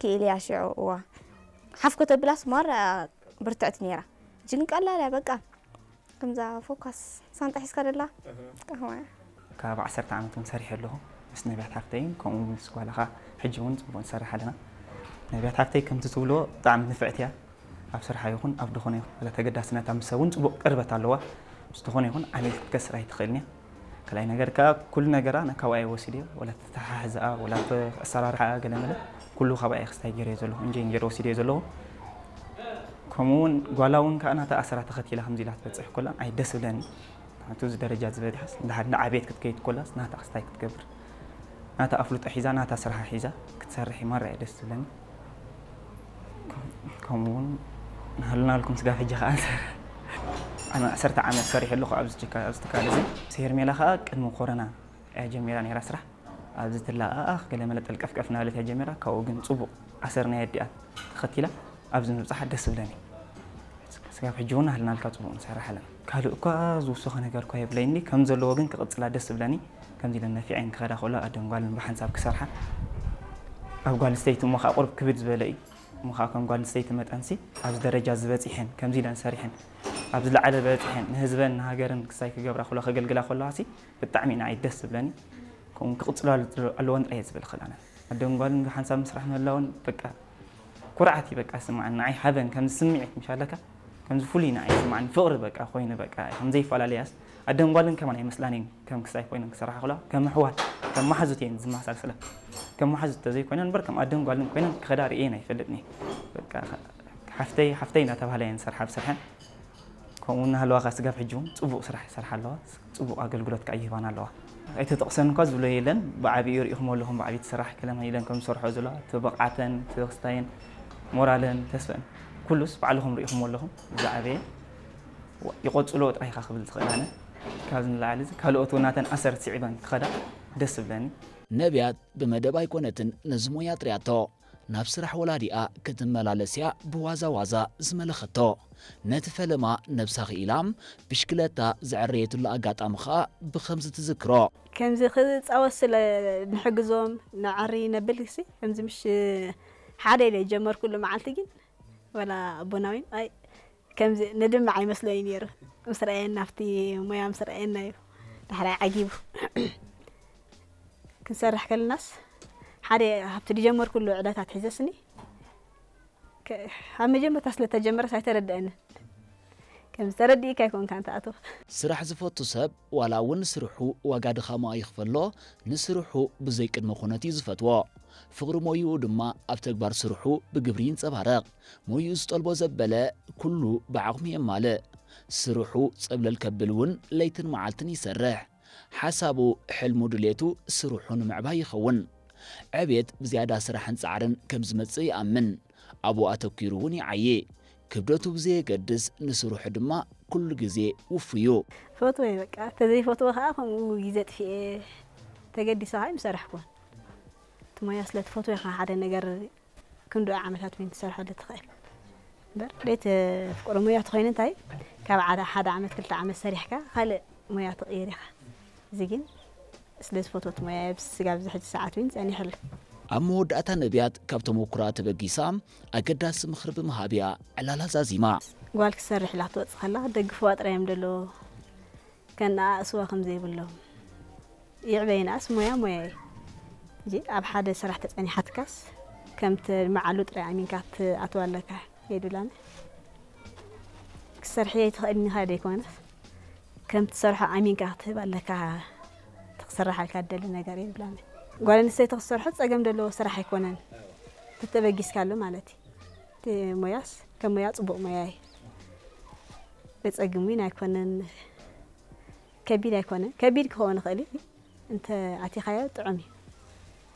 ክኢል እያ ሽዑ። እዋ ሓፍ ከተብላስ ማራ ብርትዕቲ ነይራ። እጂ ግን ቀላል እያ በቃ። ከምዛ ፎካስ ሳንጣ ሒዝካ ደላ ቀህዋ እያ። ካብ ዓሰርተ ዓመት እውን ሰሪሐ ኣለኹ ምስ ነቢያት ሓፍተይን ከምኡ ምስ ጓላኻ። ሕጂ እውን ፅቡቅ ንሰርሕ ኣለና። ነቢያት ሓፍተይ ከምቲ ትብልዎ ብጣዕሚ ንፍዕቲ እያ። ኣብ ስርሓ ይኹን ኣብ ድኾነ ይኹን ወላ ተገዳስነታ ምስ ሰብ እውን ፅቡቅ ቅርበት ኣለዋ። ምስ ዝኾነ ይኹን ዓሚል ክትከስር ኣይትኽእልን እያ። ካልኣይ ነገር ከዓ ኩሉ ነገራ ነ- ካብኣ እየ ወሲደዮ። ወላ ተተሓሕዝኣ ወላ ተ- ኣሰራርሓ ገለመለ ኩሉ ካብኣ እየ ክስታይ ገይረዮ ዘለኹ። እንጀይ እንጀር ወሲደዮ ዘለኹ። ከምኡ እውን ጓላ እውን ከዓ ናታ ኣሰራ ተኸቲላ ከምዚ ኢላ ትበፅሕ ኮላ ኣይ ደስ ብለኒ። ናቱ እዚ ደረጃ ዝበፅሓስ እንድሓር ንዓብየት ክትከይድ ኮላስ ናታ ክስታይ ክትገብር ናታ ኣፍልጦ ሒዛ ናታ ስራሓ ሒዛ ክትሰርሕ ማራ እየ ደስ ዝብለኒ። ከምኡ እውን ንሃሉናልኩም ስጋብ ሕጂ ከዓ ኣነ ዓሰርተ ዓመት ሰሪሐ ኣለኹ ኣብዚ ትካ- ኣብዚ ትካል እዚ። ሄርሜላ ከዓ ቅድሚ ኮረና እያ ጀሚራ ነይራ ስራሕ። ኣብዚ ትለኣኣኽ ገለ መለ ጠልቀፍቀፍ እናበለት እያ ጀሚራ። ካብኡ ግን ፅቡቅ ኣሰር ናይ ኣዲኣ ተኸቲላ ኣብዚ ምብፃሓ ደስ ዝብለኒ። ስጋብ ሕጂ እውን ኣህልናልካ ፅቡቅ ንሰርሕ ኣለና። ካልእ እኳ ዝውሰኸ ነገር እኳ የብለይኒ፣ ከም ዘለዎ ግን ክቕፅላ ደስ ዝብለኒ። ከምዚ ኢለን ነፊዐን ክኸዳ ከሎ ኣደን ጓልን ብሓንሳብ ክሰርሓ ኣብ ጓል ኣንስተይቲ እሞ ከዓ ቁርብ ክብድ ዝበለ እዩ። እሞ ከዓ ከም ጓል ኣንስተይቲ መጠንሲ ኣብዚ ደረጃ ዝበፂሐን ከምዚ ኢለን ሰሪሐን ኣብ ዝለዓለ በፂሐን ንህዝበን ንሃገርን ክሳይ ክገብራ ከሎ ከገልግላ ከለዋ ሲ ብጣዕሚ ንዓይ ደስ ዝብለኒ። ከምኡ ክቕፅላ ኣለዎን ጥራይ እየ ዝብል ክላነ ኣደን ጓልን ብሓንሳብ ምስራሕ ምህላውን በቃ ኩርዓት እዩ በቃ ስማዓን ንዓይ ሓበን ከምዚ ስምዒት ምሽ ኣለካ ከምዚ ፍሉይ ንዓይ ስማዓን ፍቕሪ በቃ ኮይኑ በቃ ከም ዘይፈላለያስ ኣደን ጓልን ከማን ኣይመስላን እየን ከም ክሳይ ኮይነን ክሰርሓ ከለዋ ከም ኣሕዋት ከም መሓዙት እየን ዝመሳሰላ ከም መሓዙት ተዘይኮይነን እምበር ከም ኣደን ጓልን ኮይነን ክኸዳ ርእየን ኣይፈልጥን እየ በቃ ሓፍተይ ሓፍተይ እናተባህላ እየን ዝሰርሓ ብስርሐን ከምኡ እናሃለዋ ከዓ ስጋብ ሕጂ እውን ፅቡቕ ስራሕ ይሰርሓ ኣለዋ ፅቡቕ ኣገልግሎት ከዓ ይህባና ኣለዋ ኣይተጠቕሰን እኳ ዝብሎ የለን ብዓብኡ ርኢኹም ኣለኹም ብዓብኡ ትስራሕ ከለማ ኢለን ከም ዝሰርሖ ዘለዋ እቲ ብቕዓተን እቲ ክስታየን ሞራለን ተስፈን ኩሉስ ባዕልኹም ርኢኹም ኣለኹም ዝዓበየ ይቆፅሎ ጥራይ ኢኻ ክብል ዝኽእል ኣነ ካብዚ ንላዕሊ ካልኦት እውን ናተን ኣሰርት ስዒበን ክኸዳ ደስ ዝብለኒ ነብያት ብመደብ ኣይኮነትን ነዚ ሞያ ኣጥርያቶ ናብ ስራሕ ወላዲኣ ክትመላለስ እያ ብዋዛ ዋዛ ዝመለኸቶ። ነቲ ፈለማ ነብሳ ክኢላ ብሽክለታ ዘዐረየትሉ ኣጋጣሚ ኸኣ ብኸምዚ ትዝክሮ። ከምዚ ክጻወት ስለ ንሕግዞም ነዐሪ ነብል ሲ ከምዚ ምሽ ሓደ ኢለ ጀመርኩሉ መዓልቲ ግን ወላ ኣቦና እውን ኣይ ከምዚ ንድምዕ ኣይመስሎን እዩ ነይሩ ምስ ረኣየና ኣብቲ ሞያ ምስ ረኣየና እዩ ዳሕራይ ዓጊቡ ክንሰርሕ ከለናስ ሓደ ካብቲ ዝጀመርኩሉ ዕለታት ሒዘስኒ ኣብ መጀመርታ ስለ ተጀመረስ ኣይተረድአንን ከምዚ ተረዲእካ ኣይኮንካን ትኣትዎ። ስራሕ ዝፈቱ ሰብ ዋላ እውን ንስርሑ ዋጋ ድኻሙ ኣይኽፈሎ፣ ንስርሑ ብዘይ ቅድመ ኩነት እዩ ዝፈትዎ። ፍቕሪ ሞይኡ ድማ ኣብ ተግባር ስርሑ ብግብሪ ይንጸባረቕ። ሞይኡ ዝጠልቦ ዘበለ ኩሉ ብዓቕሙ የማልእ። ስርሑ ጸብለል ከብል እውን ለይትን መዓልትን ይሰርሕ። ሓሳቡ፣ ሕልሙ፣ ድሌቱ ስርሑ ንምዕባይ ይኸውን። ዕቤት ብዝያዳ ስራሕን ጻዕርን ከም ዝመጽእ ይኣምን። ኣብኡ ኣተኲሩ እውን ይዓዪ። ክብደቱ ብዘየገድስ ንስርሑ ድማ ኩሉ ግዜ ውፉይ እዩ። እፈትዎ እየ በቃ፣ ተዘይፈትዎ ከዓ ከምኡ ግዜ ኣጥፊኤ ተገዲሰ ከዓ ኣይምሰርሕኩዎን። እቲ ሞያ ስለ ትፈትዎ ኢኻ ሓደ ነገር ክንድኡ ዓመታት እውን ትሰርሐሉ ትኽእል እምበር ዘይተፍቅሮ ሞያ ተኾይኑ እንታይ ካብ ሓደ ዓመት ክልተ ዓመት ሰሪሕካ ካልእ ሞያ ትቕይር ኢኻ። እዚ ግን ስለ ዝፈትወት ሞያ እየ ኣብዚ ስጋብ እዚ ሕጂ ሰዓት እውን ጸኒሐሉ። ኣብ መወዳእታ ነብያት ካብ ተመኩሮኣ ተበጊሳ ኣገዳሲ ምኽሪ ብምሃብ እያ ዕላላ ዛዚማ። ጓል ክትሰርሕ ኢላ ክትወጽእ ከላ ክደግፍዋ ጥራይ እዮም ደለዎ ከነኣእስዋ ከም ዘይብሎም። ይዕበየናስ ሞያ ሞያ እዩ እንጂ ኣብ ሓደ ስራሕ ተጸኒሓትካስ ከም ትልምዓሉ ጥራይ ኣሚንካ ክትኣትዋ ኣለካ። የድላን ክትሰርሕዮ ኣይትኽእልን ኢኻ ደይኮነስ ከም ትሰርሖ ኣሚንካ ክትህብ ኣለካ። እቲ ክስርሓልካ ትደሊ ነገር የብላን። ጓል ኣንስተይቲ ክትሰርሖ ጸገም ዘለዎ ስራሕ ኣይኮነን ተተበጊስካሉ ማለት እዩ። እቲ ሞያስ ከም ሞያ ጽቡቕ ሞያ እዩ። ዘጸግም እውን ኣይኮነን። ከቢድ ኣይኮነን። ከቢድ ክኸውን ይኽእል እዩ። እንተ ኣቲኻዮ ጥዑም እዩ።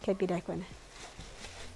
ከቢድ ኣይኮነን።